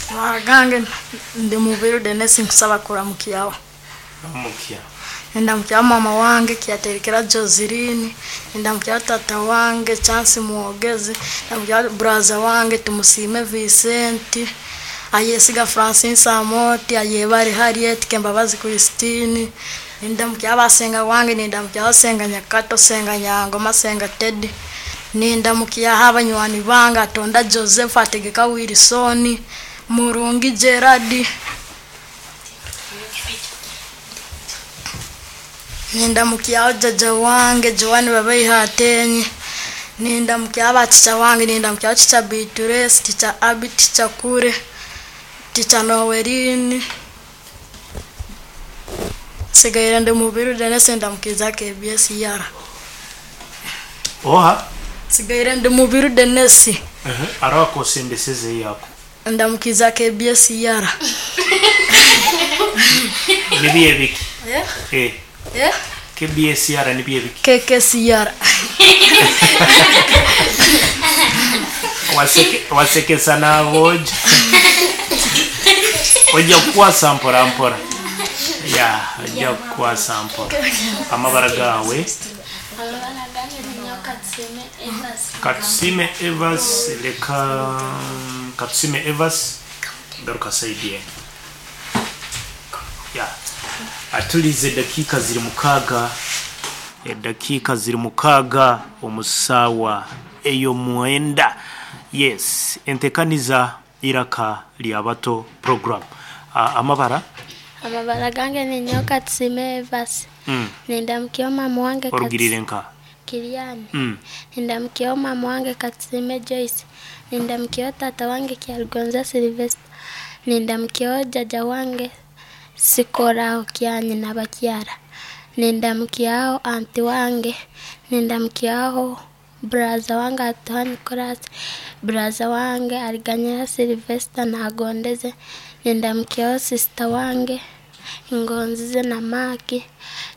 Amabara gange ndi Mubiru Dennis nkusaba kuramukyaho. Ramukya. Nindamukyaho mama wange Kyaterekera Joseline, nindamukyaho tata wange Chance Mwogezi, ndamukyaho buraza wange Tumusiime Vincent, Ayesiga Francis Amoti, Ayebare Harriet, Kembabazi Christine, nindamukyaho abasenga wange, nindamukyaho Senga Nyakato, Senga Nyangoma, Senga Teddy, nindamukyaho abanywani bange Atonda Joseph, Ategeka Wilson, Murungi Gerard, Nindamukyaho jjajja wange Joan Babaiha Atenyi, nindamukyaho ba teacher wange, nindamukyaho teacher Bituresi, teacher Abby, teacher Kure, teacher Noeline. Nsigaire ndi Mubiru Dennis ndamukiza KBS ER. Oha? Nsigaire ndi Mubiru Dennis. Hariho akosembeseze yako. Ndamukiza KBS ER. Nibyo ebiki? Eh? Eh. Eh? KBSR nibyo ebiki? KKCR. Waseke, wasekesa n'aboojo. Ojja kukwasa mpora mpora. Ya, ojja kukwasa mpora. Amabara gaawe. Amabara gange ninyowe Katusime Evas. Katusime Evas leka Katusime Evas garuka saidi ye. Ya. Atulize edakiika ziri mukaaga edakiika ziri mukaaga omu saawa ey'omwenda. Yes, entekaniza Iraka Lyabato program. Amabara Amabara gange ninyowe Katusime Evas. Nindamukyaho mama wange orugirire nka. Kiriani. Nindamukyaho mama wange Katusime Joyce. Nindamukyaho tata wange Kyarugonza Sylvester. Nindamukyaho jjajja wange Sikoraho Kyanyina Bakyara. Nindamukyaho anti wange. Nindamukyaho buraza wange Atuha Nicholas. Buraza wange Ariganyira Sylvester Nagondeze. Nindamukyaho sisita wange Ngonzize na Maki.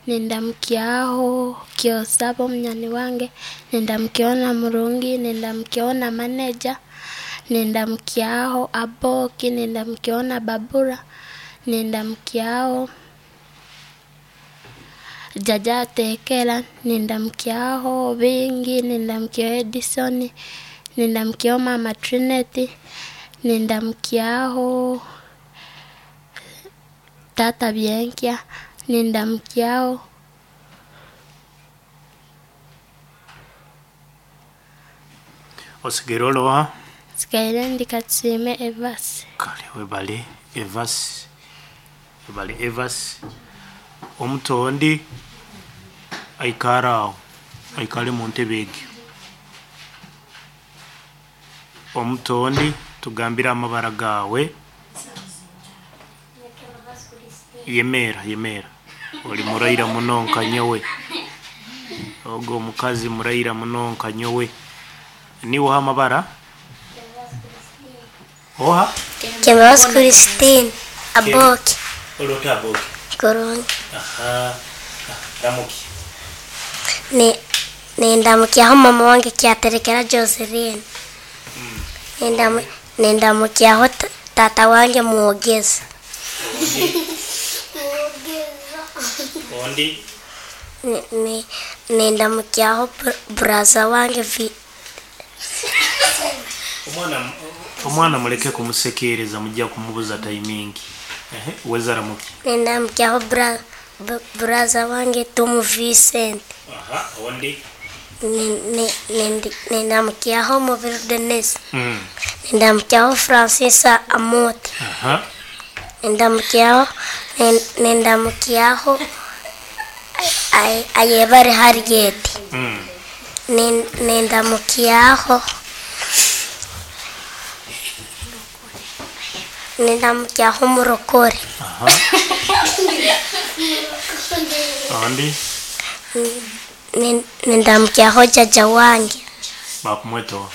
Nindamukyaho Kyosaba omunyani wange. Nindamukyaho na Murungi. Nindamukyaho na maneja. Nindamukyaho Aboki. Nindamukyaho na Babura. Nindamukyaho Jaja Atekera. Nindamukyaho Bingi. Nindamukyaho Edison. Nindamukyaho Mama Trinity. Nindamukyaho Tata Byenkya. Nindamukyaho Osigaire oroha? Nsigaire ndi Katusime Evas. Kale webale Evas. Webale Evas. Omuto ondi aikare aho. Aikare omu ntebe egyo. Omuto ondi tugambire amabara gaawe. Yemeera, yemeera. Ori muraira muno nka nyowe. Ogu omukazi muraira muno nka nyowe. Niiwe oha amabara? Oha? Kembabazi Christine Aboki Ori ota Aboki? Kurungi. Aha. Ramuki. Ni nindamukyaho mama wange Kyaterekera Joseline. Nindamukyaho tata wange Mwogeza. Ondi? Nindamukyaho buraza wange Omwana omwana muleke kumusekereza mujja kumubuza tayimingi. Ehe, weza ramuki. Nindamukyaho buraza wange Tomu Vincent. Aha, ondi. Nindamukyaho Mubiru Denis. Nindamukyaho Francis Amote. Aha. Nindamukyaho nindamukyaho Ayebare Harriet. Nindamukyaho Nindamukyaho Murokore. Aha. Ondi. Nindamukyaho jjajja wange. Bakumweta oha?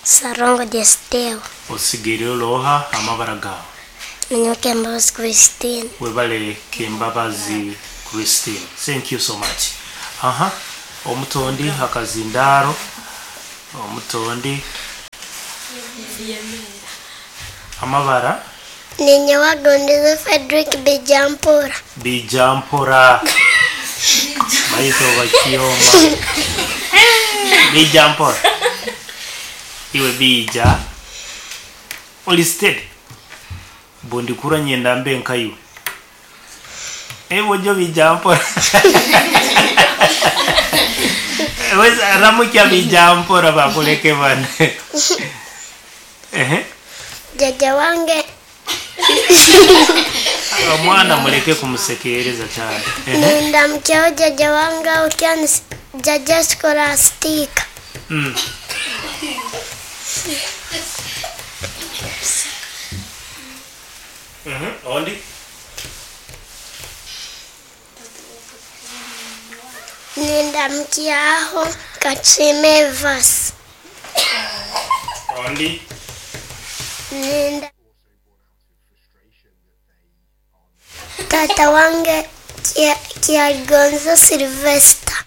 Sarongo Desteo. Osigaire ori oha amabara gaawe? Ninyowe Kembabazi Christine. Webale Kembabazi Christine. Thank you so much. Aha. Omuto ondi akazindaaro. Omuto ondi. Amabara? Ninyowe Agondize Fredrick Bijampora. Bijampora. Baitu bakyoma. Bijampora. Iwe bija. Oli steady. Bundikura nyenda mbe nkaiwe. Ewe jo bijampora. Weza ramukya bijampora bakuleke bane. Ehe. Jaja wange Omwana muleke kumusekereza cyane. Ehe. nindamukyaho jaja wange ukyani jaja Scholastica. Ondi? Nindamukyaho Katsime Evas. Ondi? Ninda Tata wange Kyagonza Sylvester.